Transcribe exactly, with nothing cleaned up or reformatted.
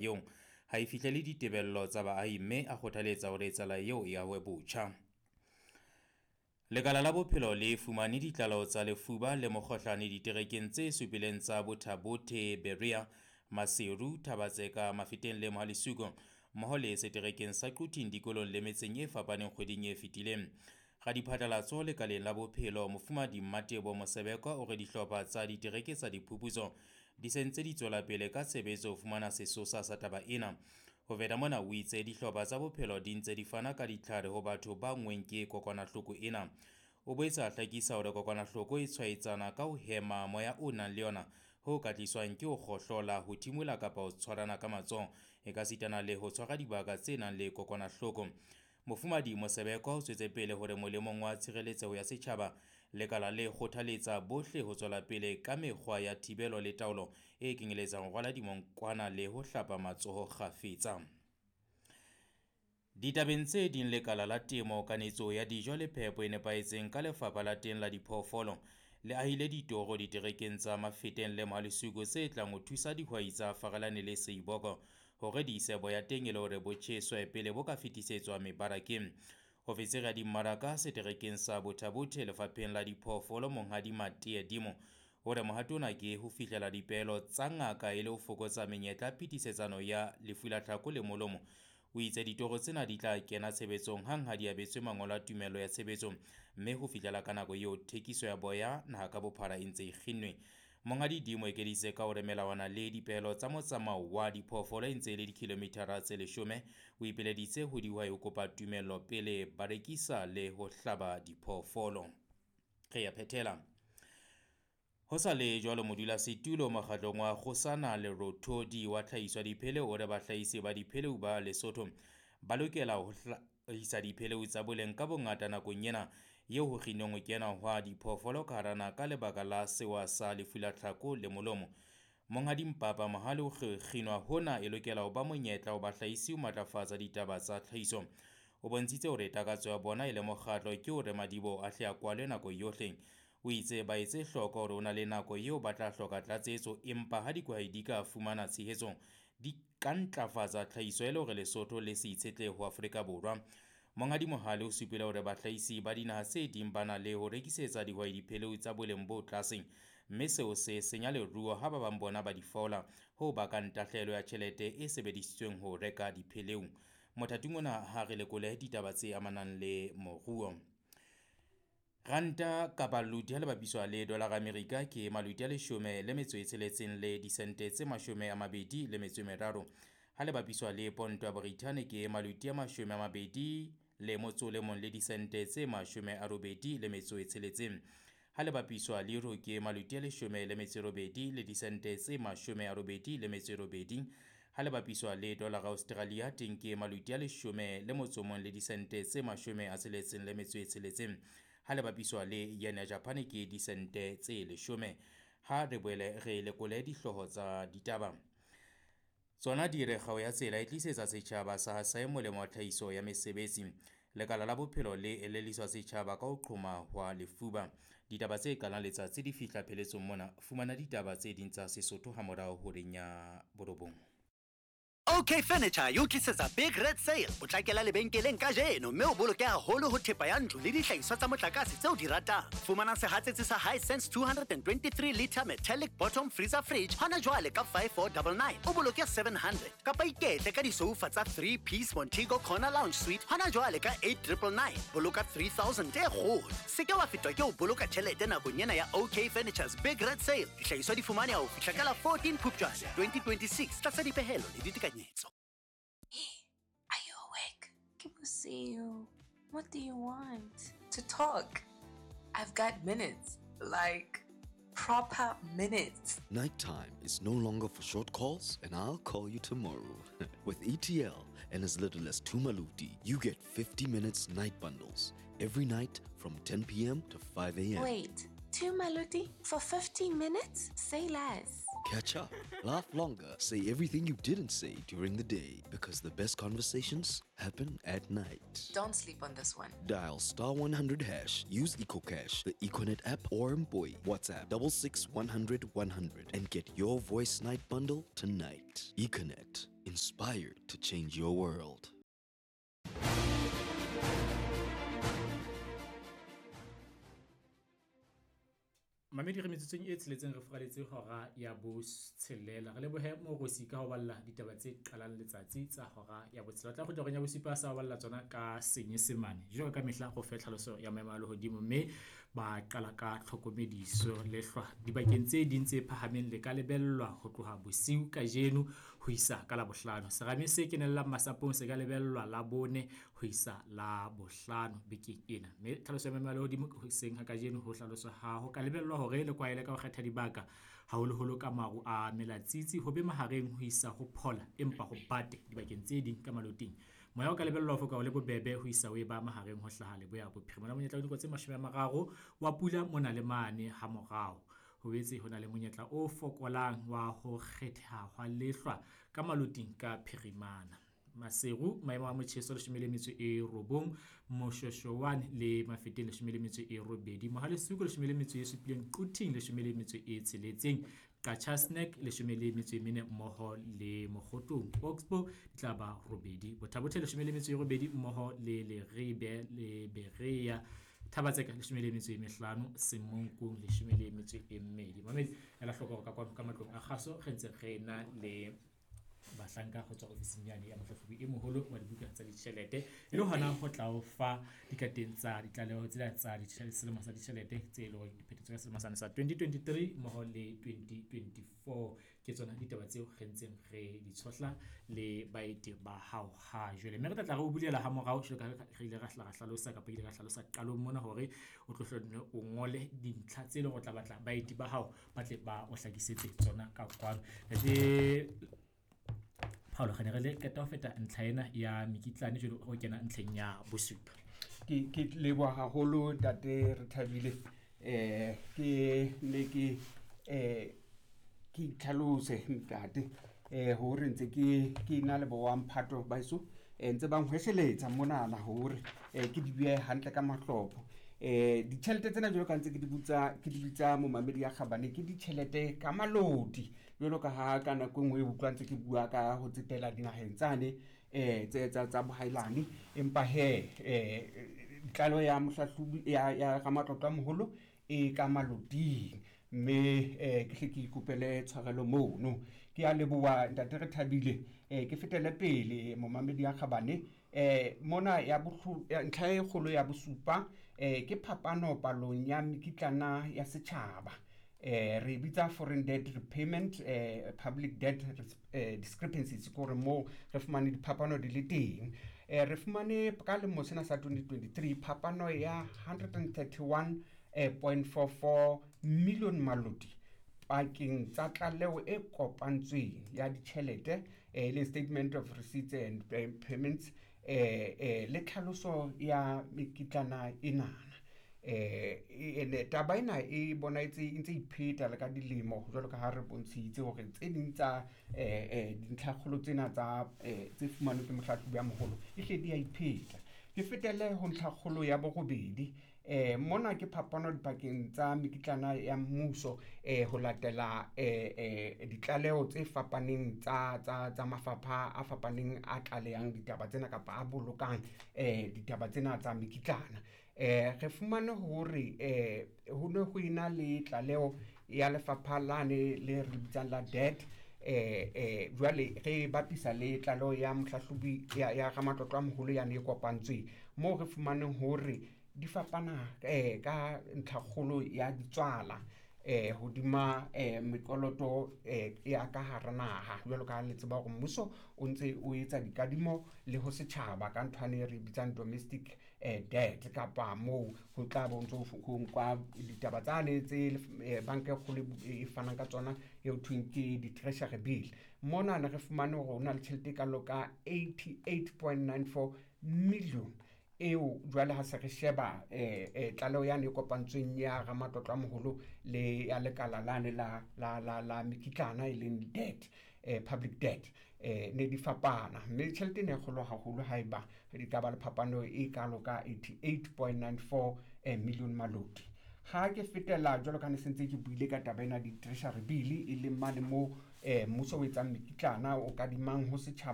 Eo ha e fihlele ditebello tsa baahi mme a kgothaletsa hore tsela eo e ahwe botjha. Lekala la bophelo le fumane ditlaleho tsa lefuba le mokgohlane diterekeng tse supileng tsa Botha-Bothe, Berea, Maseru, Thaba-Tseka, Mafeteng le Mohale'shoek mmoho le seterekeng sa Quthing dikolong le metseng e fapaneng kgweding e fetileng. Radiphatlalatso lekaleng la bophelo Mofumahadi Mmateboho Mosebeko o re dihlopha tsa ditereke tsa diphuputso di se ntse di tswela pele ka tshebetso ho fumana sesosa sa taba ena. Ho feta mona o itse dihlopha tsa bophelo di ntse di fana ka ditlhare ho batho ba anngweng ke kokwanahloko ena. O boetse a hlakisa hore kokwanahloko e tshwaetsana ka ho hema moya o nang le yona ho ka tliswang ke ho kgohlola, ho thimola kapa ho tshwarana ka matsoho ekasitana le ho tshwara dibaka tse nang le kokwanahloko. Mofumahadi Mosebeko o tswetse pele hore molemong wa tshireletseho ya setjhaba, lekala le kgothaletsa bohle ho tswela pele ka mekgwa ya thibelo le taolo e kenyeletsang ho rwala dimonkwana le ho hlapa matsoho kgafetsa. Ditabeng tse ding lekala la temo, kanetso ya dijo le phepo e nepahetseng ka lefapha la teng la diphoofolo le ahile ditoro diterekeng tsa Mafeteng le Mohale'shoek tse tlang ho thusa dihwai tsa Farelane le Seiboko hore di ise boya teng e le hore bo tjheswe pele bo ka fetisetswa mebarakeng. Ofisiri ya dimmaraka seterekeng sa Botha-Bothe lefapheng la diphoofolo Monghadi Matee Dimo o re mohato ona ke ho fihlela dipehelo tsa ngaka e le ho fokotsa menyetla ya phetisetsano ya lefu la tlhako le molomo. O itse ditoro tsena di tla kena tshebetsong hang ha di abetswe mangolo a tumello ya tshebetso mme ho fihlela ka nako eo thekiso ya boya naha ka bophara e ntse e kginnwe. Monghadi Dimo ekeditse ka hore melawana le dipehelo tsa motsamao wa diphoofolo e ntse e le dikilomithara tse leshome. O ipileditse ho dihwai ho kopa tumello pele ba rekisa le ho hlaba diphoofolo. Re ya phethela. Ho sa le jwalo modulasetulo mokgatlong wa Kgosana Lerothodi wa tlhahiso ya dipheleu o re bahlahisi ba dipheleu ba Lesotho ba lokela ho hlahisa dipheleu tsa boleng ka bongata nakong ena eo ho kginnweng ho kena hwa diphoofolo ka hara naha ka lebaka la sewa sa lefu la tlhako le molomo. Monghadi Mpapa Mohale o kginwa hona e lokela ho ba monyetla ho bahlahisi ho matlafatsa ditaba tsa tlhahiso. O bontshitse hore takatso ya bona e le mokgatlo ke hore madiboho a hle a kwalwe nako yohle. O itse ba etse hloko hore ho na le nako eo ba tla hloka tlatsetso empa ha dihwai di ka fumana tshehetso di ka ntlafatsa tlhahiso e le hore Lesotho le se itshetlehe ho Afrika Borwa. Monghadi Mohale o supile hore bahlahisi ba dinaha tse ding ba na le ho rekisetsa dihwai dipheleu tsa boleng bo tlase mme seo se senya leruo ha ba bang bona ba di fola ho bakang tahlehelo ya tjhelete e sebedisitsweng ho reka dipheleu. Mothating ona ha re lekole ditaba tse amanang le moruo. Ranta kapa loti ha le bapiswa le dolara Amerika ke maloti a leshome le metso e tsheletseng le disente tse mashome a mabedi le metso e meraro. Ha le bapiswa le ponto ya Brithani ke maloti a mashome a mabedi le motso le mong le disente tse mashome a robedi le metso e tsheletseng. Ha le bapiswa le euro ke maloti a leshome le metso e robedi le disente tse mashome a robedi le metso e robedi. Ha le bapiswa le dollar Australia teng ke maloti a leshome le motso mong le disente tse mashome a tsheletseng le metso e tsheletseng. Ha le bapiswa le yen ya Japan ke disente tse leshome. Ha re boele re lekole dihlooho tsa ditaba. Tsona di re kgao ya tsela e tlisetsa setjhaba sa Hasae molemo wa tlhahiso ya mesebetsi. Lekala la bophelo le elelliswa setjhaba ka ho qhoma hwa lefuba. Ditaba tse qalang letsatsi di fihla pheletsong mona. Fumana ditaba tse ding tsa Sesotho hamorao horeng ya borobong. OK Furniture e o tlisetsa Big Red Sale. Potlakela lebenkeleng kajeno mme o boloke haholo ho thepa ya ntlo le dihlahiswa tsa motlakase tseo di ratang. Fumana sehatsetsi sa Hisense two twenty-three liter metallic bottom freezer fridge hona jwale ka five four nine nine. O boloke seven hundred. Kapa iketle ka disoufa tsa three piece Montego Corner Lounge Suite hona jwale ka eight triple nine. Boloka three thousand e kgolo. Se ke wa fetwa ke ho boloka tjhelete nakong ena ya OK Furniture's Big Red Sale. Dihlahiswa di fumaneha ho fihla ka la fourteen Phupjane twenty twenty-six tlasa dipehelo le ditekanyetso. Hey, are you awake? People see you. What do you want? To talk. I've got minutes. Like, proper minutes. Nighttime is no longer for short calls, and I'll call you tomorrow. With E T L and as little as two maluti, you get fifty minutes night bundles every night from ten p m to five a m. Wait, two maluti for fifty minutes? Say less. Catch up, laugh longer, say everything you didn't say during the day, because the best conversations happen at night. Don't sleep on this one. Dial star one hundred hash, use EcoCash, the Econet app, or Mboy. WhatsApp double six one hundred one hundred and get your voice night bundle tonight. Econet, inspired to change your world. Mamedi re metsotsong e tsheletseng re furaletse hora ya botshelela. Re lebohe Morosi ka ho balla ditaba tse qalang letsatsi tsa hora ya botshelela. Tla kgutla horeng ya bosupa sa ho balla tsona ka Senyesemane. Jwalo ka mehla go fe tlhaloso ya maemo a lehodimo mme ba qala ka tlhokomediso lehlwa dibakeng tse ding tse phahameng le ka lebellwa ho tloha bosiu kajeno ho isa ka Labohlano. Serame se kenellang masapong se ka lebellwa Labone ho isa Labohlano bekeng ena. Mme tlhaloso ya maemo a lehodimo hoseng ha kajeno ho hlaloswa ha ho ka lebellwa hore le kwaele ka ho kgetha dibaka haholoholo ka maru a melatsitsi ho be mahareng ho isa ho phola empa ho bate dibakeng tse ding ka maloting. Moya o ka lebellwa ho foka o le bobebe ho isa ho eba mahareng ho hlaha leboya bophirima. Mona monyetla wa dinako tse mashome a mararo wa pula mona le mane ha morao. Ho boetse ho na le monyetla o fokolang wa ho kgetheha hwa lehlwa ka maloting ka phirimana. Maseru maemo a motjheso leshome le metso e robong, Moshoshoane le Mafeteng leshome le metso e robedi, Mohalesuku leshome le metso e supileng, Quthing leshome le metso e tsheletseng, Qacha's Nek leshome le metso e mene mmoho le Mokgotong, Oxbow di tla ba robedi, Botha-Bothe leshome le metso e robedi mmoho le Leribe le Berea, Thabatseka leshome le metso e mehlano, Semonkong leshome le metso e mmedi. Mamedi ela hloko hore ka kwano ka matlong a kgaso re ntse re na le bahlanka ho tswa ofising yane ya mohlahlobi e moholo wa dibuka tsa ditjhelete e le hona ho tla o fa dikateng tsa ditlaleho tsena tsa ditjhelete selemo sa ditjhelete tse leng hore di phethetswe ka selemo sane sa twenty twenty-three mmoho le twenty twenty-four. Ke tsona ditaba tseo re ntseng re di tshohla le baeti ba hao ha jwale. Mme re tla tla re o bulela ha morao jwalo ka ha re ile ra hla ra hlalosa kapa ile ra hlalosa qalong mona hore o tlo hlonne o ngole dintlha tse leng hore o tla batla baeti ba hao ba tle ba o hlakisetse tsona ka kwano. Ntate Paulo, re ne re le qeta ho feta ntlha ena ya mekitlane jwale ho kena ntlheng ya bosupa. Ke ke leboha haholo ntate Rethabile. Eh ke ne ke eh ke itlhalose ntate eh hore ntse ke ke na le bo wa mphato ba eso eh ntse ba nhwesheletsa monana hore eh ke di bue hantle ka mahlopho. Eh ditjhelete tsena jwalo ka ntse ke di butsa ke di bitsa momamedi ya kgabane ke ditjhelete ka malodi jwalo ka ha ka nako e nngwe e utlwa ntse ke bua ka ho tsetela dinaheng tsane eh tse tsa tsa bohailane empa he eh tlalo ya mohlahlobi ya ya ramatlotlo a moholo e ka maloding mme eh ke hle ke ikopele tshwarelo mono. Ke a leboha ntate Rethabile. Eh ke fetele pele momamedi ya kgabane eh mona ya bohlu ntlha e kgolo ya bosupa eh ke phapano palong ya mekitlana ya setjhaba. Eh re bitsa foreign debt repayment eh public debt eh, discrepancies ke hore moo re fumane diphapano di le teng. Eh re fumane ka lemo sena sa twenty twenty-three phapano ya one hundred thirty-one point four four million malodi pakeng tsa tlaleho e kopantsweng ya ditjhelete eh le statement of receipts and payments eh eh le tlhaloso ya mekitlana enana. Eh ene taba ena e bonahetse e ntse ipheta le ka dilemo jwalo ka ha re bontshitse hore tse ding tsa eh eh dintlhakgolo tsena tsa eh tse fumanweng ke mohlahlobi ya moholo e hle di a ipheta. Ke fetele ho ntlhakgolo ya borobedi. Eh mona ke phapano dipakeng tsa mekitlana ya mmuso eh ho latela eh eh ditlaleho tse fapaneng tsa tsa tsa mafapha a fapaneng a tlalehang ditaba tsena kapa a bolokang eh ditaba tsena tsa mekitlana. Eh re fumane hore eh ho ne ho ena le tlaleho ya lefapha lane le re bitsang la debt eh eh jwale re bapisa le tlaleho ya mohlahlobi ya ya ramatlotlo a moholo yane e kopantsweng moo re fumaneng hore di fapana eh ka ntlhakgolo ya ditswala eh hodima eh mekoloto eh ya ka hara naha jwalo ka le tseba hore mmuso o ntse o etsa dikadimo le ho setjhaba ka nthwane e re bitsang domestic eh debt kapa moo ho tla bo ntso ho nkwa ditaba tsane tse banka e kgolo e fanang ka tsona eo thweng ke di-treasury bill. Mona ne re fumane hore ho na le tjhelete e kalo ka eighty-eight point nine four million eo jwale ha se re sheba eh, eh, tlaleho yane e kopantsweng ya ramatlotlo a moholo le ya lekala lane la, la, la, la mekitlana e leng debt, eh, public debt, eh, ne di fapana, mme tjhelete e ne e kgolo haholo haeba di ka ba le phapano e kalo ka eighty-eight point nine four, eh, million maloti. Ha ke fetela jwalo ka ne sentse ke buile ka taba ena di-treasury bill e leng mane moo, eh, mmuso o etsang mekitlana o kadimang ho setjhaba.